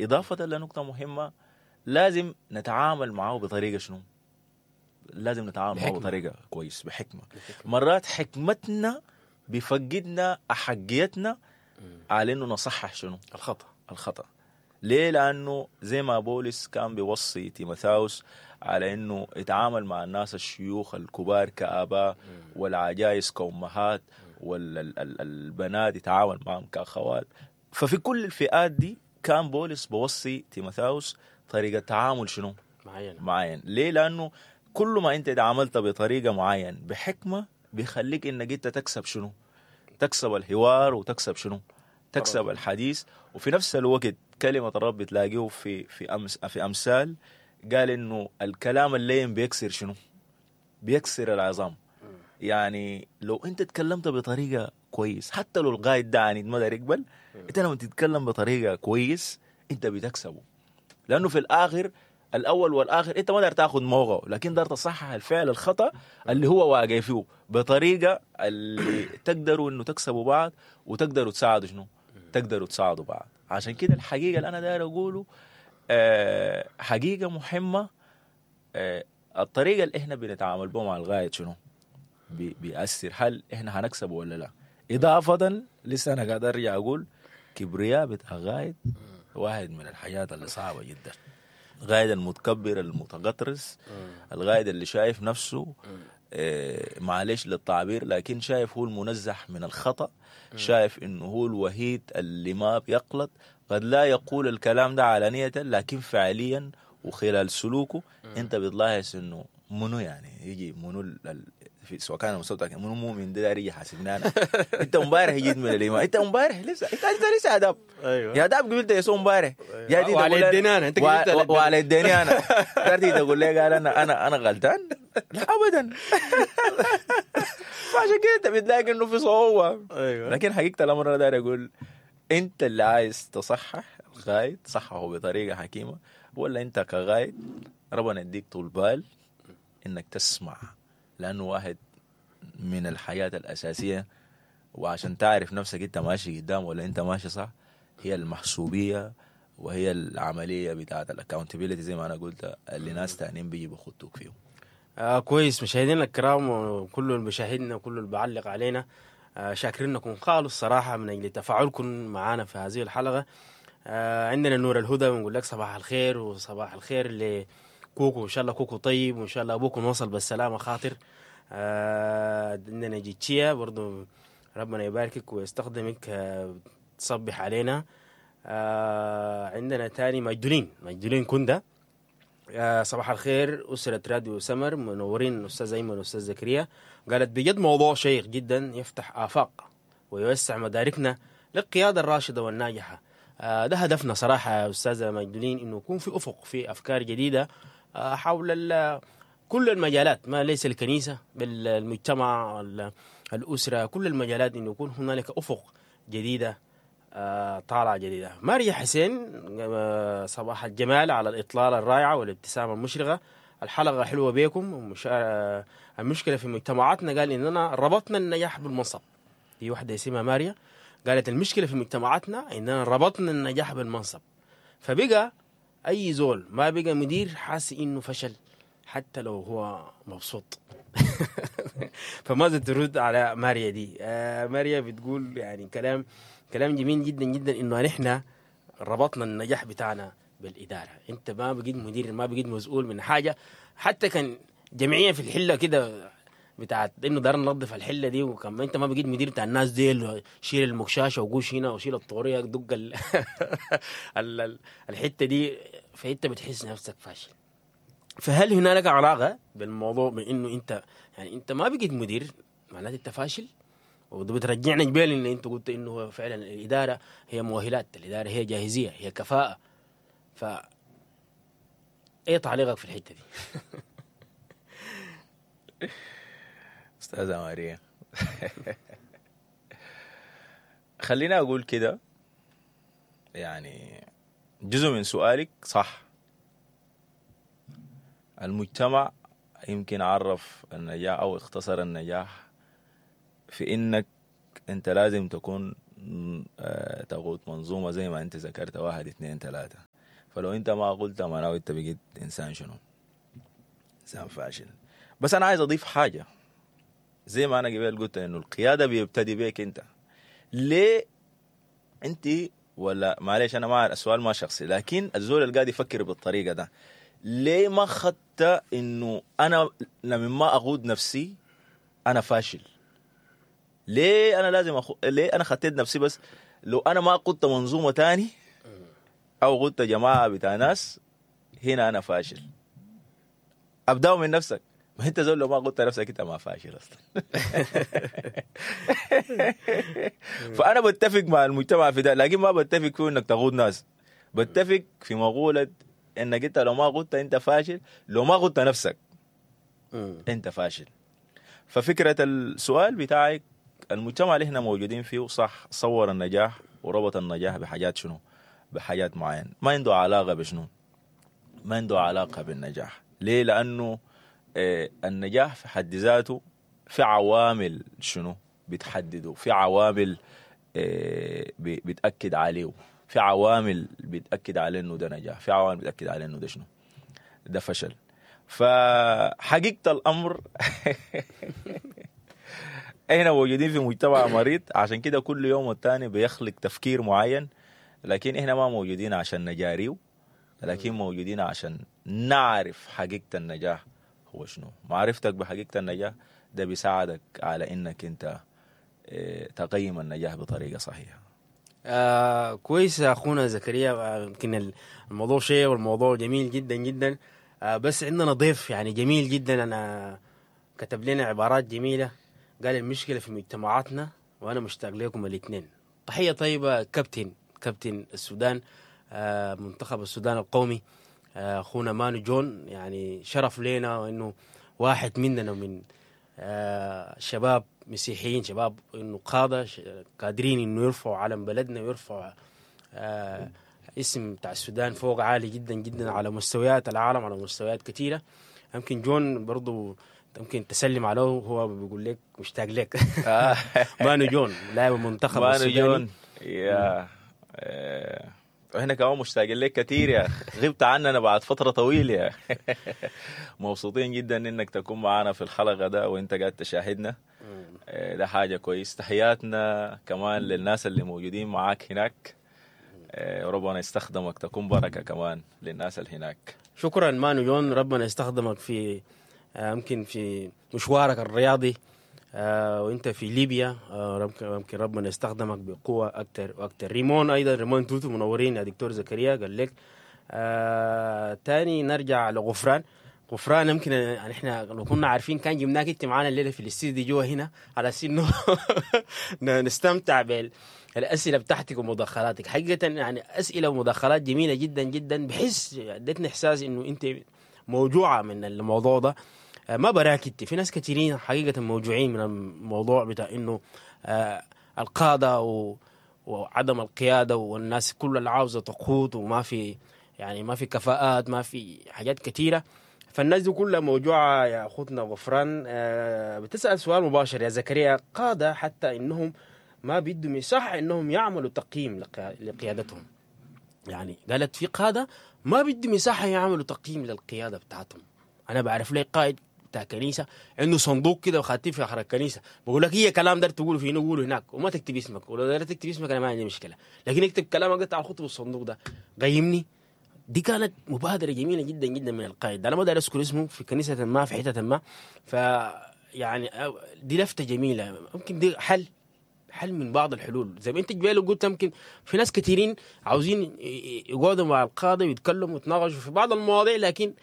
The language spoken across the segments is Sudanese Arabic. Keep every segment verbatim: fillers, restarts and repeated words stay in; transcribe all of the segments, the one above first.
اضافه لنقطة مهمة، لازم نتعامل معه بطريقة شنو؟ لازم نتعامل معه بحكمة. بطريقة كويس، بحكمه. مرات حكمتنا بفقدنا احقيتنا على انه نصحح شنو؟ الخطا. الخطا. ليه؟ لانه زي ما بولس كان بيوصي تيموثاوس على انه يتعامل مع الناس الشيوخ الكبار كاباء، والعجائز كامهات، والبنات يتعامل معهم كاخوات. ففي كل الفئات دي كان بولس بوصي تيموثاوس طريقه تعامل شنو؟ معينة. معين. ليه؟ لانه كل ما انت تعاملت بطريقة معين بحكمه بيخليك انك انت تكسب شنو؟ تكسب الحوار وتكسب شنو؟ تكسب الحديث. وفي نفس الوقت كلمة الرب بتلاقيه في في أمس في امثال قال انه الكلام اللين بيكسر شنو؟ بيكسر العظام. يعني لو انت تكلمت بطريقة كويس، حتى لو القائد ده عنيد ما داير يقبل، انت لما تتكلم بطريقة كويس انت بتكسبه، لانه في الاخر الاول والاخر انت ما داير تاخذ موقعه، لكن داير تصحح الفعل الخطا اللي هو واقع فيه بطريقة اللي تقدروا انه تكسبوا بعض وتقدروا تساعدوا شنو؟ تقدروا تساعدوا بعض. عشان كده الحقيقة اللي انا داير اقوله آه حقيقة مهمة، آه الطريقة اللي احنا بنتعامل بها مع الغاية شنو؟ بي بيأثر هل احنا هنكسب ولا لا. اضافه لسه انا قاعد ارجع اقول كبرياء بتاع غايد واحد من الحاجات اللي صعبة جدا. الغايد المتكبر المتغطرس، الغايد اللي شايف نفسه آه معلش للتعبير، لكن شايف هو المنزه من الخطأ، شايف انه هو الوحيد اللي ما بيغلط. قد لا يقول الكلام ده علانية، لكن فعليا وخلال سلوكه انت بتلاحظ انه منو يعني يجي منو ال... في سواء كان المستوى منو مؤمن ده داير يجي يحاسبني انا. انت امبارح جيت من الايمان، انت امبارح لسه انت لسه يا داب. ايوه يا داب قبلت يسوع امبارح. يا دي وعلى يديني انا، انت قبلت على وعلى يديني انا. داير تقول لي قال انا انا انا غلطان؟ لا ابدا. فعشان كده انت بتلاقي انه في صعوبة. ايوه لكن حقيقة الامر انا داير اقول انت اللي عايز تصحح الغايد صححه بطريقة حكيمة، ولا انت كغايد ربنا يديك طول بال انك تسمع، لانه واحد من الحياة الاساسية، وعشان تعرف نفسك انت ماشي قدام ولا انت ماشي صح، هي المحسوبيه وهي العملية بتاعه ال accountability زي ما انا قلت اللي ناس تانيين بيجي بيخطوك فيهم. آه كويس. مشاهدينا الكرام وكل المشاهدين وكل اللي بعلق علينا، آه شاكرينكم خالص صراحة من اجل تفاعلكم معنا في هذه الحلقة. آه عندنا نور الهدى بنقول لك صباح الخير، وصباح الخير لكوكو، ان شاء الله كوكو طيب، وان شاء الله ابوكم وصل بالسلامة خاطر. آه عندنا جيتشيا برضو ربنا يباركك ويستخدمك، آه تصبح علينا. آه عندنا تاني مجدولين، مجدولين كندا، آه صباح الخير أسرة راديو سمر، منورين أستاذ أيمن وأستاذ زكريا. قالت بجد موضوع شيق جدا يفتح آفاق ويوسع مداركنا للقيادة الراشدة والناجحة. آه ده هدفنا صراحة يا أستاذة مجدولين، إنه يكون في أفق، في أفكار جديدة آه حول كل المجالات، ما ليس الكنيسة بل المجتمع، الأسرة، كل المجالات، إنه يكون هنالك أفق جديدة آه طالعة جديدة. ماريا حسين، آه صباح الجمال على الإطلالة الرائعة والابتسامة المشرقة، الحلقة حلوة بيكم. ومش... آه المشكلة في مجتمعاتنا، قال إننا ربطنا النجاح بالمنصب. دي واحدة اسمها ماريا قالت المشكلة في مجتمعاتنا إننا ربطنا النجاح بالمنصب، فبقى أي زول ما بقى مدير حاسس إنه فشل حتى لو هو مبسوط. فماذا ترد على ماريا دي؟ آه ماريا بتقول يعني كلام كلام جميل جدا جدا، انه نحن ربطنا النجاح بتاعنا بالادارة. انت ما بقيت مدير، ما بقيت مسؤول من حاجة، حتى كان جمعية في الحلة كده بتاعت انه دار ننظف الحلة دي، وكان انت ما بقيت مدير بتاع الناس ديل، شيل المكشاشه وقوش هنا وشيل الطوريه دق ال... ال... الحتة دي، فانت بتحس نفسك فاشل. فهل هنالك علاقة بالموضوع بانه انت يعني انت ما بقيت مدير معناته انت فاشل؟ وده بترجعنا جبال ان انت قلت انه فعلا الادارة هي مؤهلات، الادارة هي جاهزية، هي كفاءة. ف ايه تعليقك في الحتة دي؟ استاذه ماريا خلينا اقول كده، يعني جزء من سؤالك صح. المجتمع يمكن عرف النجاح او اختصر النجاح في انك انت لازم تكون آه، تقود منظومة زي ما انت ذكرت، واحد اثنين ثلاثة. فلو انت ما قلت معناه انت بقيت انسان شنو؟ انسان فاشل. بس انا عايز اضيف حاجة، زي ما انا قبل قلت انه القيادة بيبتدي بيك انت. ليه انت ولا معلش انا ما السؤال ما شخصي، لكن الزول اللي قاعد يفكر بالطريقة ده ليه ما خدت انه انا لما ما اقود نفسي انا فاشل؟ ليه انا لازم أخو... ليه انا خدت نفسي؟ بس لو انا ما قدت منظومة تاني او قدت جماعة بتاع ناس هنا انا فاشل. ابداو من نفسك، ما انت زول لو ما قلت نفسك انت ما فاشل اصلا. فانا بتفق مع المجتمع في ده، لكن ما بتفق فيه انك تقود ناس. بتفق في مقولة انك انت لو ما قلت انت فاشل، لو ما قلت نفسك انت فاشل. ففكره السؤال بتاعك، المجتمع اللي احنا موجودين فيه صح صور النجاح وربط النجاح بحاجات شنو؟ بحاجات معينة ما عنده علاقة بشنو؟ ما عنده علاقة بالنجاح. ليه؟ لانه النجاح في حد ذاته في عوامل شنو بتحدده، في عوامل بتأكد عليه، في عوامل بتأكد عليه انه ده نجاح، في عوامل بتأكد عليه انه ده شنو، ده فشل. فحقيقة الأمر احنا موجودين في مجتمع مريض، عشان كده كل يوم والتاني بيخلق تفكير معين، لكن احنا ما موجودين عشان نجاريه، لكن موجودين عشان نعرف حقيقة النجاح هو شنو. معرفتك بحقيقة النجاح ده بيساعدك على انك انت تقيم النجاح بطريقة صحيحة. آه كويس يا اخونا زكريا، يمكن الموضوع شيء والموضوع جميل جدا جدا، آه بس عندنا ضيف يعني جميل جدا، انا كتب لنا عبارات جميلة، قال المشكلة في مجتمعاتنا وانا مشتاق لكم الاثنين. تحية طيبة كابتن كابتن السودان، آه منتخب السودان القومي، اخونا مانو جون، يعني شرف لنا وانه واحد مننا من آه شباب مسيحيين، شباب انه قاده قادرين انه يرفعوا علم بلدنا ويرفعوا آه اسم بتاع السودان فوق عالي جدا جدا على مستويات العالم، على مستويات كثيرة. يمكن جون برضو يمكن تسلم عليه، هو بيقول لك مشتاق لك. مانو جون لاعب المنتخب مانو جون يا احنا كمان مشتاقين لك كثير يا اخي، غبت عننا بعد فترة طويلة يا اخي. مبسوطين جدا انك تكون معنا في الحلقة ده وانت قاعد تشاهدنا، ده حاجة كويس. تحياتنا كمان للناس اللي موجودين معاك هناك، ربنا يستخدمك تكون بركة كمان للناس اللي هناك. شكرا مانو جون، ربنا يستخدمك في يمكن في مشوارك الرياضي وانت في ليبيا، يمكن ربنا يستخدمك بقوة اكثر واكثر. ريمون ايضا، ريمون توتو منورين يا دكتور زكريا، قال لك آه تاني نرجع لغفران. غفران يمكن يعني احنا لو كنا عارفين كان جبناك انت معانا الليلة في الاستديو جوا هنا على اساس انه نستمتع بالاسئلة بتاعتك ومداخلاتك. حقيقة يعني اسئلة ومداخلات جميلة جدا جدا، بحس ادتني احساس انه انت موجوعه من الموضوع ده. ما براك انت، في ناس كثيرين حقيقة موجوعين من الموضوع بتاع انه آه القادة و... وعدم القيادة، والناس كل اللي عاوزه تقود وما في يعني ما في كفاءات، ما في حاجات كثيرة. فالناس دي كلها موجوعه يا اخوتنا غفران. آه بتسال سؤال مباشر يا زكريا، قاده حتى انهم ما بيدوا مساحة انهم يعملوا تقييم لقيادتهم. يعني قالت في قاده ما بيدوا مساحة يعملوا تقييم للقياده بتاعتهم. انا بعرف لي قائد بتاع كنيسة عنده صندوق كده وخاتيه في اخر الكنيسة، بقول لك هي كلام دار تقوله في قوله هناك وما تكتب اسمك، ولو دار تكتب اسمك انا ما عندي مشكلة، لكن اكتب كلامك ده تعال خطه بالصندوق ده قيمني. دي كانت مبادرة جميلة جدا جدا من القائد، انا ما دار اذكر اسمه، في كنيسة ما في حتة ما. ف يعني دي لفته جميلة، ممكن دي حل حل من بعض الحلول زي ما انت جبال قلت. يمكن في ناس كثيرين عاوزين يقعدوا مع القاضي ويتكلموا ويتناقشوا في بعض المواضيع، لكن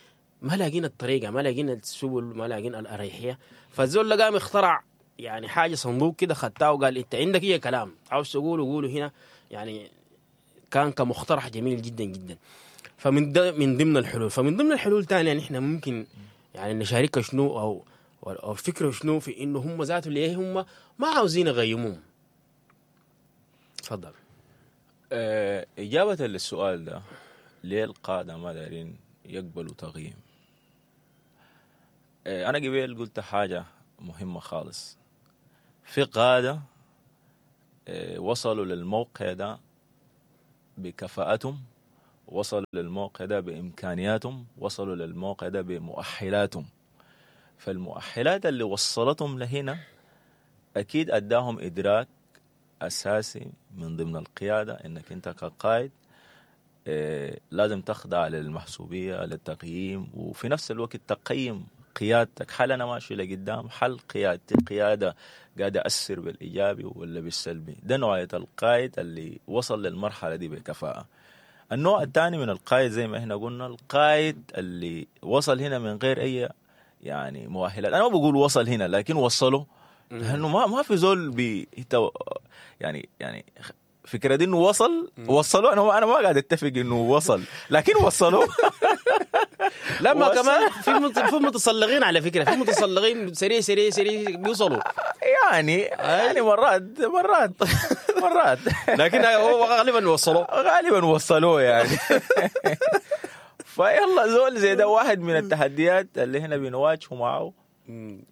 ما لاقين الطريقة، ما لاقين السبل، ما لاقين الاريحيه. فالزول اللي قام اخترع يعني حاجة صندوق كده خدتها وقال انت عندك ايه كلام عاوز تقوله قوله هنا، يعني كان كمقترح جميل جدا جدا. فمن من ضمن الحلول، فمن ضمن الحلول ثانية يعني احنا ممكن يعني نشاركها شنو او او فكرة شنو في انه هم ذاته ليه هم ما عاوزين يغيموهم. تفضل. أه اجابه للسؤال ده، ليه القادة ما دارين يقبلوا تغييم؟ أنا قبل قلت حاجة مهمة خالص، في قادة وصلوا للموقع ده بكفاءتهم، وصلوا للموقع ده بإمكانياتهم، وصلوا للموقع ده بمؤهلاتهم. فالمؤهلات اللي وصلتهم لهنا أكيد أداهم إدراك أساسي من ضمن القيادة، إنك أنت كقائد إيه لازم تخضع للمحسوبية، للتقييم، وفي نفس الوقت تقيم قيادتك. هل أنا ماشي لقدام؟ هل قيادتي قيادة قاعدة أثر بالإيجابي ولا بالسلبي؟ ده نوعية القائد اللي وصل للمرحلة دي بكفاءة. النوع الثاني من القائد زي ما احنا قلنا، القائد اللي وصل هنا من غير أي يعني مؤهلات. أنا ما بقول وصل هنا، لكن وصله، لأنه ما ما في زول بي يعني يعني فكرة دي إنه وصل وصلوا. أنا أنا ما قاعد أتفق إنه وصل، لكن وصلوا. لا ما كمان في في متسلقين على فكرة، في متسلقين سريع سريع سريع بيوصلوا يعني يعني مرات مرات مرات، لكن هو غالبا وصلوا، غالبا وصلوه يعني. فيلا زول زي ده واحد من التحديات اللي هنا بنواجهه معه،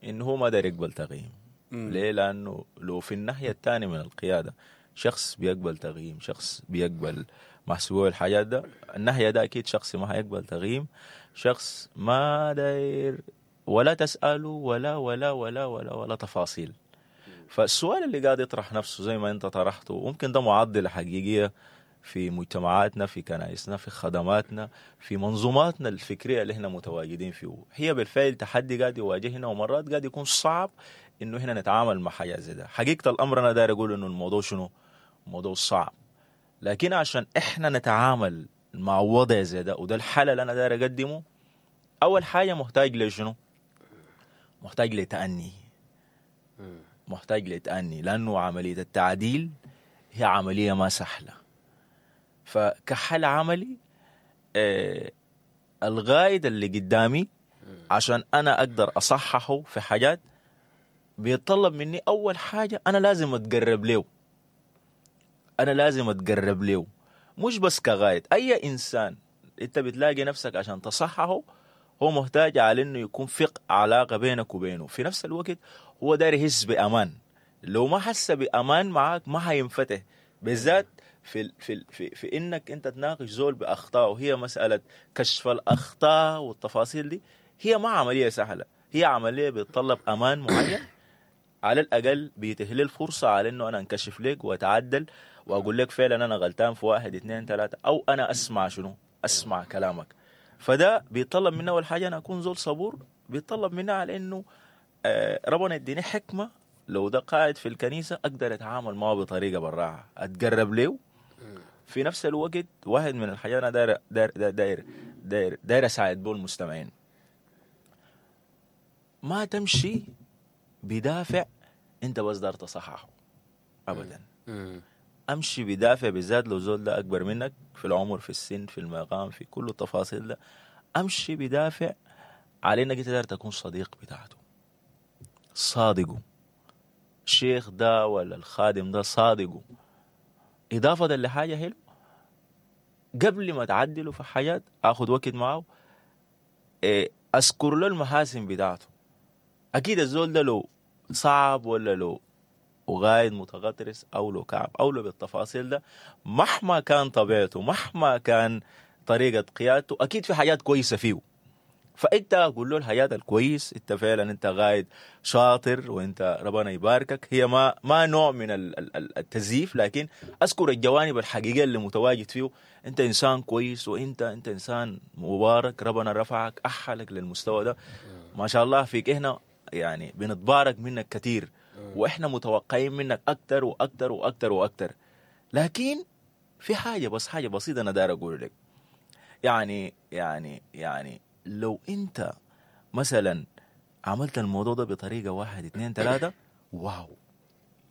إنه هو ما داير يقبل تغيير. ليه؟ لأنه لو في الناحية الثانية من القيادة شخص بيقبل تغييم، شخص بيقبل محسوبة الحاجات ده، الناحية ده أكيد شخص ما هيقبل تغييم، شخص ما داير ولا تسأله ولا ولا ولا ولا ولا تفاصيل. فالسؤال اللي قاعد يطرح نفسه زي ما أنت طرحته، ممكن ده معضلة حقيقية في مجتمعاتنا، في كنائسنا، في خدماتنا، في منظوماتنا الفكرية اللي احنا متواجدين فيه. هي بالفعل تحدي قاعد يواجهنا، ومرات قاعد يكون صعب إنه هنا نتعامل مع حاجة زي ده. حقيقة الأمر أنا داير أقول إنه الموضوع شنو؟ موضوع صعب، لكن عشان إحنا نتعامل مع وضع زي ده، وده الحل اللي أنا داير أقدمه، أول حاجة محتاج لشنو؟ محتاج لتأني، محتاج لتأني، لأنه عملية التعديل هي عملية ما سهلة. فكحل عملي آه الغايد اللي قدامي عشان أنا أقدر أصححه في حاجات بيتطلب مني أول حاجة أنا لازم أتقرب له، أنا لازم أتقرب له، مش بس كغايد. أي إنسان أنت بتلاقي نفسك عشان تصححه هو محتاج على إنه يكون في علاقة بينك وبينه، في نفس الوقت هو داير يحس بأمان. لو ما حس بأمان معاك ما هينفتح، بالذات في في في في إنك أنت تناقش زول بأخطاء، وهي مسألة كشف الأخطاء والتفاصيل دي هي ما عملية سهلة، هي عملية بتطلب أمان معين، على الأقل بيتهل الفرصة على إنه أنا أنكشف لك وأتعدل وأقول لك فعلا أنا غلطان في واحد اثنين ثلاثة، أو أنا أسمع شنو أسمع كلامك. فده بيطلب مني أول حاجة أنا أكون زول صبور، بيطلب مني على إنه ربنا يديني حكمة لو ده قاعد في الكنيسة أقدر أتعامل معه بطريقة براعة، أتقرب له. في نفس الوقت واحد من الحاجات أنا داير داير داير داير داير أساعد بو المستمعين، ما تمشي بدافع أنت بس دار تصححه أبدا. أمشي بدافع، بالذات لو زول ده أكبر منك في العمر، في السن، في المقام، في كل التفاصيل ده، أمشي بدافع على إنك تقدر تكون صديق بتاعته، صادقة. الشيخ ده ولا الخادم ده صادقة. إضافة لحاجة حلو، قبل ما تعدله في حاجات أخذ وقت معه، أذكر له المحاسن بتاعته. أكيد الزول ده لو صعب ولا لو وغايد متغطرس أو لو كعب أو لو بالتفاصيل ده، مهما كان طبيعته، مهما كان طريقة قيادته، أكيد في حاجات كويسة فيه. فأنت قول له الحاجات الكويس، أنت فعلا أنت غايد شاطر وأنت ربنا يباركك. هي ما ما نوع من التزييف، لكن أذكر الجوانب الحقيقية اللي متواجد فيه. أنت إنسان كويس، وأنت أنت إنسان مبارك، ربنا رفعك أحلك للمستوى ده، ما شاء الله فيك. هنا يعني بنتبارك منك كثير، وإحنا متوقعين منك أكتر وأكتر وأكتر وأكتر. لكن في حاجة، بس حاجة بسيطة أنا داير أقول لك، يعني يعني يعني لو أنت مثلا عملت الموضوع ده بطريقة واحد اثنين ثلاثة، wow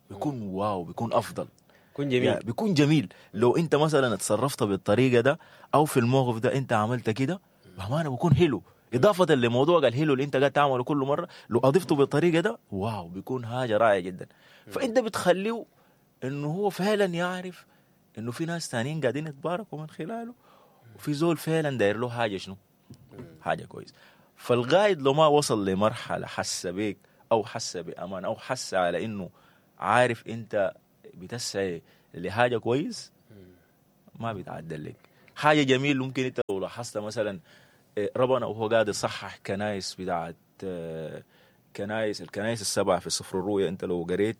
بيكون wow بيكون أفضل، بيكون جميل، يعني بيكون جميل. لو أنت مثلا اتصرفت بالطريقة ده أو في الموقف ده أنت عملت كده، بأمانة بيكون حلو. إضافة لموضوع الهيلو اللي أنت قاعد تعمله كل مرة، لو أضفته بالطريقة ده wow بيكون حاجة رائعة جدا. فأنت بتخليه إنه هو فعلا يعرف إنه في ناس تانيين قاعدين يتباركوا من خلاله، وفي زول فعلا داير له حاجة شنو حاجة كويس. فالغايد لو ما وصل لمرحلة حس بيك أو حس بأمان أو حس على إنه عارف أنت بتسعي لحاجة كويس ما بيتعدل لك حاجة جميل. ممكن انت لو لاحظت مثلا ربنا وهو قاعد يصحح كنايس بتاعت كنايس الكنايس السبعة في سفر الرؤيا، انت لو قريت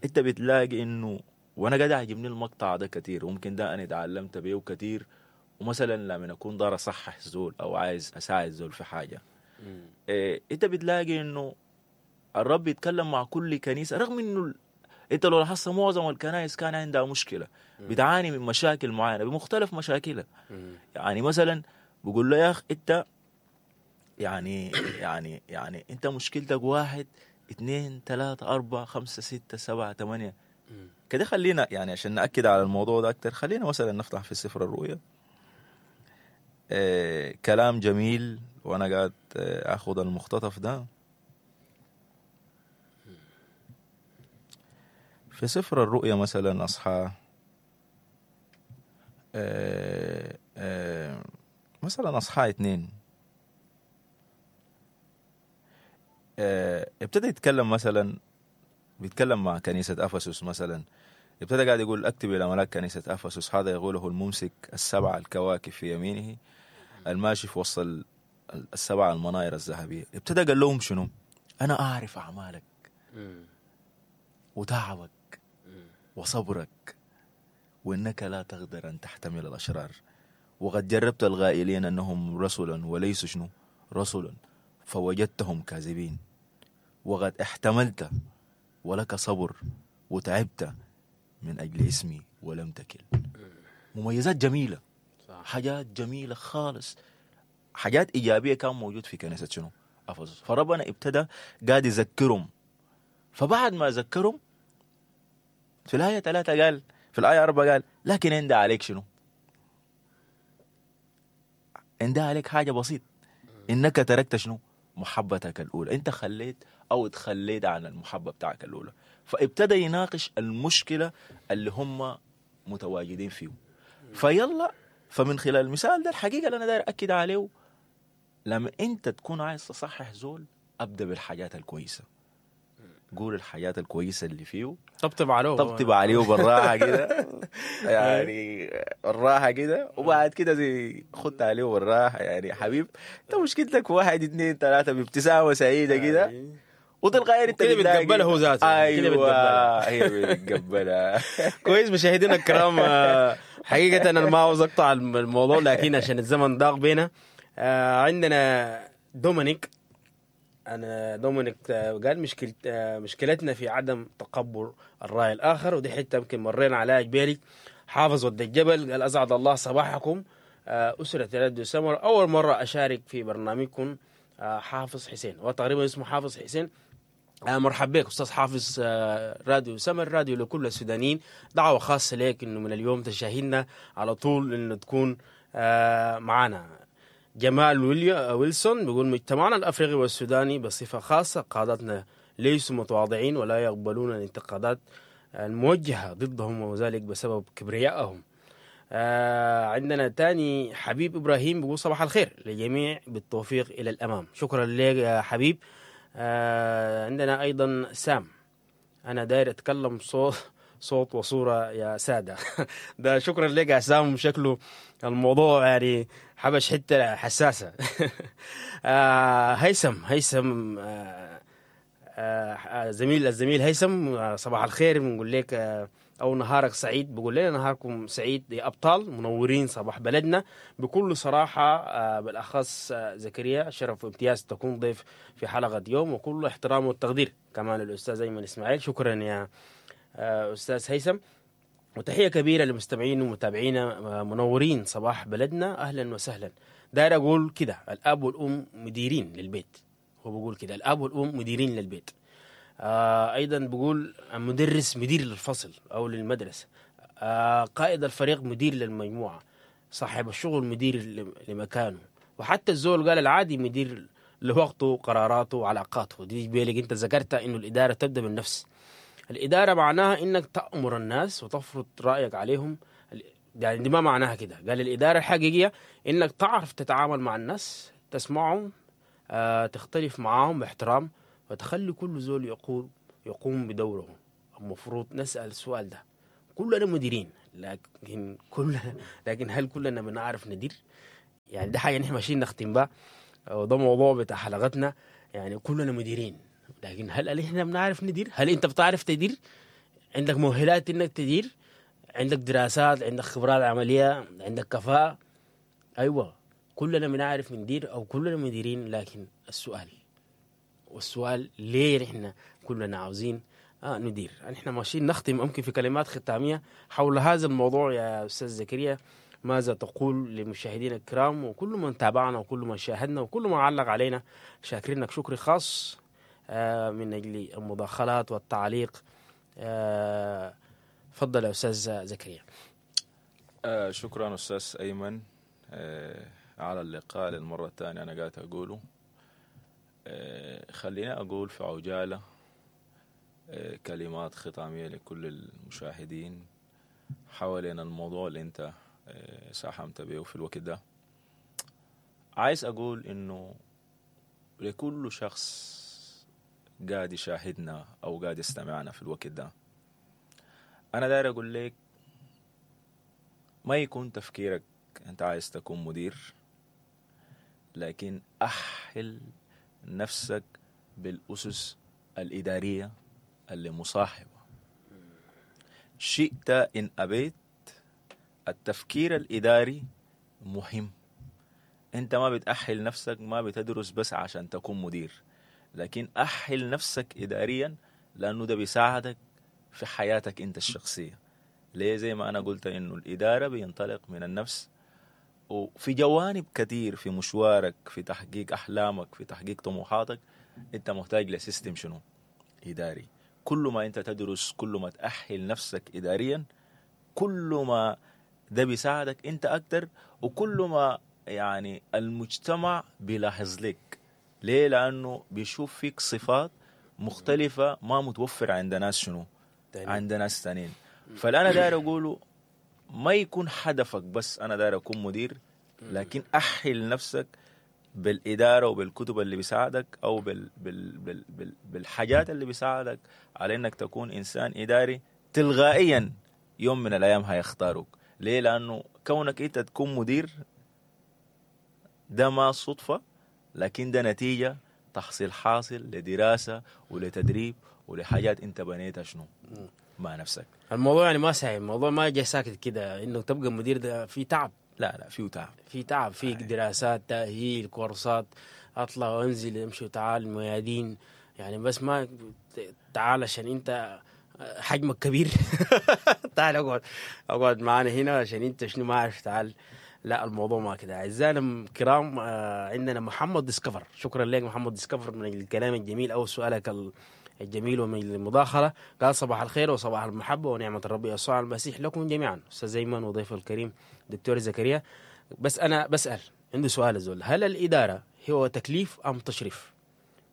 انت بتلاقي انه، وانا قاعد عجبني المقطع ده كثير وممكن ده انا اتعلمت بيه كثير. ومثلا لما اكون دار اصحح زول او عايز اساعد زول في حاجة، إيه انت بتلاقي انه الرب يتكلم مع كل كنيسة، رغم انه انت لو لاحظت معظم الكنائس كان عندها مشكلة، بتعاني من مشاكل معينة بمختلف مشاكلها. يعني مثلا بقول له يا اخ انت يعني يعني يعني انت مشكلتك واحد اثنين ثلاثة أربعة خمسة ستة سبعة ثمانية كده. خلينا يعني عشان نأكد على الموضوع ده أكتر، خلينا مثلا نفتح في سفر الرؤيا. آه كلام جميل، وأنا قاعد أخذ المختطف ده في سفر الرؤيا. مثلا أصحى آه آه مثلا أصحى اثنين، آه ابتدى يتكلم مثلا، بيتكلم مع كنيسة أفسس مثلا، ابتدى قاعد يقول اكتب إلى ملاك كنيسة أفسس، هذا يقوله الممسك السبع الكواكب في يمينه الماشي في وسط السبع المناير الذهبية. ابتدى قال لهم شنو؟ أنا أعرف أعمالك وتعبك وصبرك، وإنك لا تقدر أن تحتمل الأشرار، وقد جربت الغائلين أنهم رسلا وليسوا شنو؟ رسلا، فوجدتهم كاذبين، وقد احتملت ولك صبر وتعبت من أجل اسمي ولم تكل. مميزات جميلة، صح. حاجات جميلة خالص، حاجات إيجابية كان موجود في كنيسة شنو؟ أفسس. فربنا ابتدى قاعد يذكرهم، فبعد ما ذكرهم في الآية ثلاثة قال، في الآية أربعة قال لكن عندي عليك شنو؟ عندي عليك حاجة بسيط، إنك تركت شنو؟ محبتك الأولى. أنت خليت أو تخليت عن المحبة بتاعك الأولى. فابتدى يناقش المشكلة اللي هم متواجدين فيه. فيلا، فمن خلال المثال ده الحقيقة اللي أنا داير أكد عليه، لما أنت تكون عايز تصحح زول أبدأ بالحاجات الكويسة، قول الحاجات الكويسة اللي فيه، طبطب عليه، طبطب عليه بالراحة كده يعني بالراحة كده، وبعد كده زي خدت عليه بالراحة، يعني حبيب انت مشكلتك واحد اثنين ثلاثة، بابتسامة سعيدة كده، وتلقائيا انت كده بتقبله هو ذاته. ايوه هي بتقبلها. كويس مشاهدينا الكرام، حقيقة انا ما عاوز اقطع الموضوع لكن عشان الزمن ضاق بينا. عندنا دومينيك، أنا دومينيك قال مشكلة مشكلتنا في عدم تقبل الرأي الآخر، ودي حتة يمكن مرينا عليها جبالي. حافظ ود الجبل قال أسعد الله صباحكم أسرة راديو سمر، أول مرة أشارك في برنامجكم. حافظ حسين، وتقريبا اسمه حافظ حسين. مرحب بك أستاذ حافظ. راديو سمر راديو لكل السودانيين، دعوة خاصة لك إنه من اليوم تشاهدنا على طول، إنه تكون معنا. جمال ويلسون بيقول مجتمعنا الأفريقي والسوداني بصفة خاصة قادتنا ليسوا متواضعين ولا يقبلون الانتقادات الموجهة ضدهم، وذلك بسبب كبريائهم. آه عندنا تاني حبيب إبراهيم بيقول صباح الخير للجميع، بالتوفيق إلى الأمام. شكرا لك يا حبيب. آه عندنا أيضا سام، أنا داير أتكلم صوت صوت وصورة يا سادة. ده شكرا لك يا سام، شكله الموضوع يعني حبش حتة حساسة. آه هيثم هيثم آه آه زميل الزميل هيثم، آه صباح الخير، بنقول لك آه أو نهارك سعيد. بقول لنا نهاركم سعيد يا أبطال، منورين صباح بلدنا بكل صراحة. آه بالأخص آه زكريا، شرف وامتياز تكون ضيف في حلقة يوم، وكل احترام والتقدير كمان الأستاذ أيمن إسماعيل. شكرا يا أستاذ هيثم، وتحية كبيرة للمستمعين ومتابعينا، منورين صباح بلدنا، أهلا وسهلا. داير أقول كده، الأب والأم مديرين للبيت، هو بقول كده، الأب والأم مديرين للبيت. آه أيضا بقول مدرس مدير للفصل أو للمدرسة، آه قائد الفريق مدير للمجموعة، صاحب الشغل مدير لمكانه، وحتى الزول قال العادي مدير لوقته قراراته وعلاقاته. دي بالك أنت ذكرتها إنه الإدارة تبدأ بالنفس. الإدارة معناها إنك تأمر الناس وتفرض رأيك عليهم، يعني دي ما معناها كده. قال الإدارة الحقيقية إنك تعرف تتعامل مع الناس، تسمعهم، آه، تختلف معاهم باحترام، وتخلي كل زول يقول يقوم بدوره. المفروض نسأل السؤال ده. كلنا مديرين، لكن كلنا لكن هل كلنا بنعرف ندير؟ يعني ده حاجة نحن ماشيين نختم بها، وده موضوع بتاع حلقتنا. يعني كلنا مديرين، لكن هل احنا بنعرف ندير؟ هل انت بتعرف تدير؟ عندك مؤهلات انك تدير؟ عندك دراسات، عندك خبرات عملية، عندك كفاءة؟ ايوه، كلنا بنعرف ندير او كلنا مديرين، لكن السؤال والسؤال ليه نحن كلنا عاوزين آه ندير؟ نحن ماشيين نختم ممكن في كلمات ختامية حول هذا الموضوع. يا أستاذ زكريا، ماذا تقول للمشاهدين الكرام وكل من تابعنا وكل من شاهدنا وكل من علق علينا؟ شاكرينك شكر خاص آه من أجل المداخلات والتعليق. آه تفضل يا أستاذ زكريا. آه شكرا أستاذ أيمن آه على اللقاء للمرة الثانية. أنا قاعد أقوله آه خلينا أقول في عجالة آه كلمات ختامية لكل المشاهدين حوالين الموضوع اللي أنت آه ساهمت به في الوقت ده. عايز أقول إنه لكل شخص قاعد يشاهدنا أو قاعد يستمعنا في الوقت ده، أنا داير أقول لك ما يكون تفكيرك أنت عايز تكون مدير، لكن أحل نفسك بالأسس الإدارية اللي مصاحبة. شئت إن أبيت، التفكير الإداري مهم. أنت ما بتأهل نفسك، ما بتدرس بس عشان تكون مدير، لكن أهل نفسك إداريا، لأنه ده بيساعدك في حياتك أنت الشخصية. ليه؟ زي ما أنا قلت إنه الإدارة بينطلق من النفس، وفي جوانب كثير في مشوارك، في تحقيق أحلامك، في تحقيق طموحاتك، أنت محتاج لسيستم شنو؟ إداري. كل ما أنت تدرس، كل ما تأهل نفسك إداريا، كل ما ده بيساعدك أنت أكتر، وكل ما يعني المجتمع بيلاحظ لك. ليه؟ لأنه بيشوف فيك صفات مختلفة ما متوفرة عند ناس شنو؟ عند ناس تانيين. فالأنا داير أقوله ما يكون هدفك بس أنا داير أكون مدير، لكن أحل نفسك بالإدارة وبالكتب اللي بيساعدك، أو بال بال بال بال بالحاجات اللي بيساعدك على إنك تكون إنسان إداري. تلغائيا يوم من الأيام هيختاروك. ليه؟ لأنه كونك أنت تكون مدير ده ما صدفة، لكن ده نتيجة تحصيل حاصل لدراسة ولتدريب ولحاجات أنت بنيتها شنو مع نفسك. الموضوع يعني ما سهل، الموضوع ما جاي ساكت كده انه تبقى مدير، ده في تعب. لا لا، فيه تعب، في تعب، في دراسات، تأهيل، كورسات، اطلع وانزل، امشي وتعال، ميادين. يعني بس ما تعال عشان انت حجمك كبير تعال اقعد اقعد معانا هنا عشان انت شنو ما عارف تعال. لا، الموضوع ما كده. اعزائنا الكرام، عندنا محمد ديسكفر، شكرا لك محمد ديسكفر من الكلام الجميل او سؤالك ال الجميل ومن المداخلة. قال صباح الخير وصباح المحبة ونعمة الرب يسوع المسيح لكم جميعا، أستاذ أيمن وضيفه الكريم دكتور زكريا. بس أنا بسأل، عنده سؤال الزول، هل الإدارة هو تكليف أم تشريف؟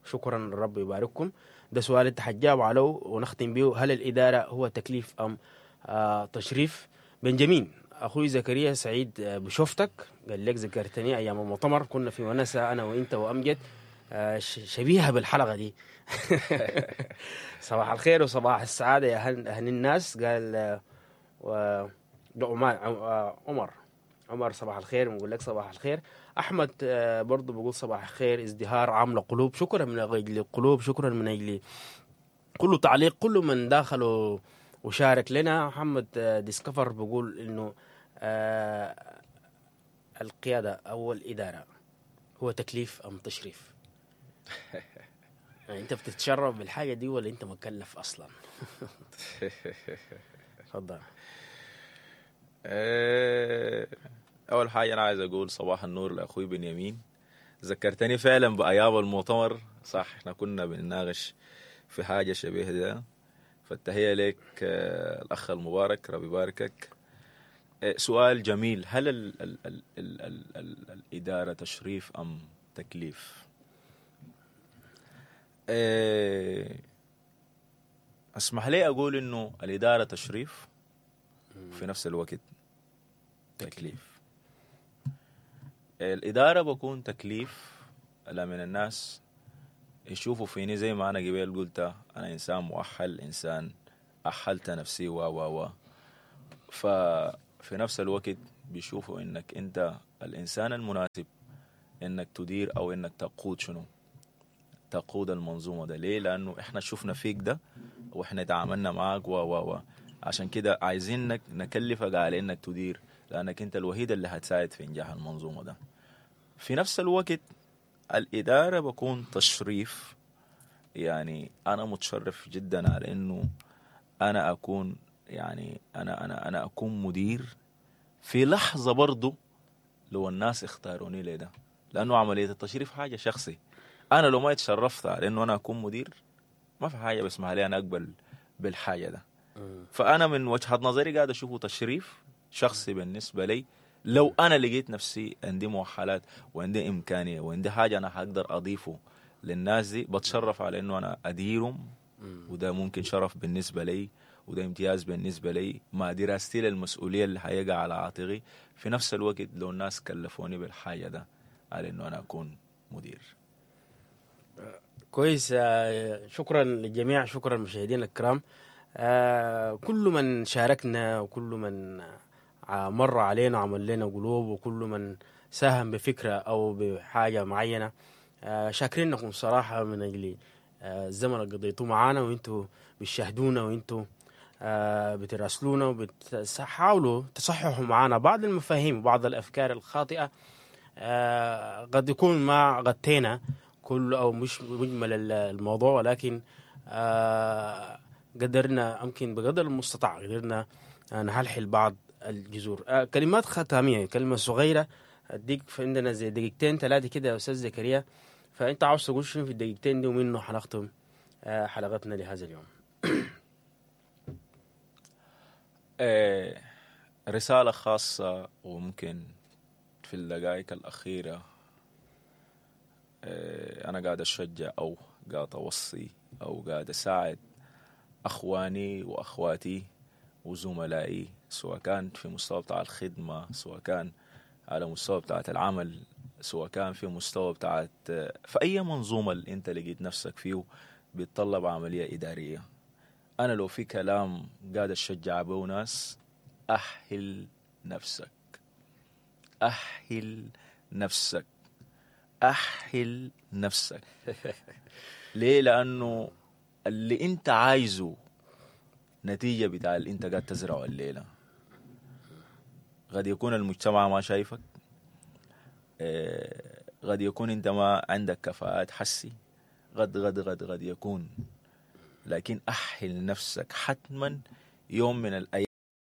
شكرا، الرب يبارككم. ده سؤال أنت حتجاوب عليه ونختم به. هل الإدارة هو تكليف أم آه تشريف؟ بنجامين أخوي زكريا سعيد بشوفتك، قال لك ذكرتني أيام المؤتمر، كنا في ونسة أنا وإنت وأمجد، شبيهة بالحلقة دي. صباح الخير وصباح السعادة يا أهل, أهل الناس. قال و... عمر عمر صباح الخير، بنقول لك صباح الخير. أحمد برضو بقول صباح الخير. ازدهار عاملة قلوب، شكرا من أجل القلوب، شكرا من أجل كل تعليق، كل من داخل وشارك لنا. محمد ديسكفر بقول إنه القيادة أو الإدارة هو تكليف أم تشريف؟ يعني انت بتتشرف بالحاجة دي ولا انت مكلف اصلا؟ تفضل. اول حاجة انا عايز اقول صباح النور لاخوي بنيامين، ذكرتني فعلا بايام المؤتمر. صح، احنا كنا بنناقش في حاجة شبيه ده، فالتحيه لك الاخ المبارك، ربي يباركك. سؤال جميل، هل ال ال ال ال ال ال الادارة تشريف ام تكليف؟ اسمح لي اقول انه الادارة تشريف وفي نفس الوقت تكليف. الادارة بكون تكليف لمن الناس يشوفوا فيني زي ما انا قبل قلت، انا انسان مؤهل، انسان أحلت نفسي و و و ففي نفس الوقت بيشوفوا انك انت الانسان المناسب انك تدير او انك تقود شنو؟ تقود المنظومة ده. ليه؟ لانه احنا شفنا فيك ده واحنا تعاملنا معاك و و و عشان كده عايزينك نكلفك على انك تدير، لانك انت الوحيد اللي هتساعد في انجاح المنظومة ده. في نفس الوقت الادارة بكون تشريف، يعني انا متشرف جدا على انه انا اكون يعني انا انا انا اكون مدير في لحظة برضو لو الناس اختاروني لده، لانه عملية التشريف حاجة شخصي. انا لو ما اتشرفت على انه انا اكون مدير ما في حاجة بسمح لي انا اقبل بالحاجة ده. فانا من وجهه نظري قاعد اشوفه تشريف شخصي بالنسبة لي. لو انا لقيت نفسي عندي مؤهلات وعندي امكانية وعندي حاجة انا حقدر اضيفه للناس دي، بتشرف على انه انا اديرهم، وده ممكن شرف بالنسبة لي وده امتياز بالنسبة لي مع دراستي للمسؤولية اللي حيقع على عاتقي. في نفس الوقت لو الناس كلفوني بالحاجة ده على انه انا اكون مدير. كويس. شكرا للجميع، شكرا مشاهدينا الكرام، كل من شاركنا وكل من مر علينا وعمل لنا قلوب وكل من ساهم بفكرة أو بحاجة معينة، شاكرينكم صراحة من أجل الزمن اللي قضيتوه معانا وانتوا بتشاهدونا وانتوا بتراسلونا وبتحاولوا تصححوا معانا بعض المفاهيم وبعض الأفكار الخاطئة. قد يكون ما غطينا كل أو مش مجمل الموضوع، ولكن قدرنا يمكن بقدر المستطاع قدرنا نحلحل بعض الجذور. كلمات ختامية، كلمة صغيرة أديك عندنا زي دقيقتين ثلاثة كده يا أستاذ زكريا، فأنت عاوز تقول شنو في الدقيقتين دي ومنه حنختم حلقتنا لهذا اليوم؟ رسالة خاصة وممكن في الدقائق الأخيرة، أنا قاعد أشجع أو قاعد أوصي أو قاعد أساعد أخواني وأخواتي وزملائي، سواء كان في مستوى بتاع الخدمة، سواء كان على مستوى بتاع العمل، سواء كان في مستوى بتاع في أي منظومة اللي أنت لقيت نفسك فيه بيتطلب عملية إدارية. أنا لو في كلام قاعد أشجع به ناس، أحل نفسك، أحل نفسك، أحل نفسك. ليه؟ لأنه اللي أنت عايزه نتيجة بتاع اللي أنت قاعد تزرعه الليلة. قد يكون المجتمع ما شايفك، قد يكون أنت ما عندك كفاءات حسي، قد قد قد قد يكون، لكن أحل نفسك حتما يوم من الأيام.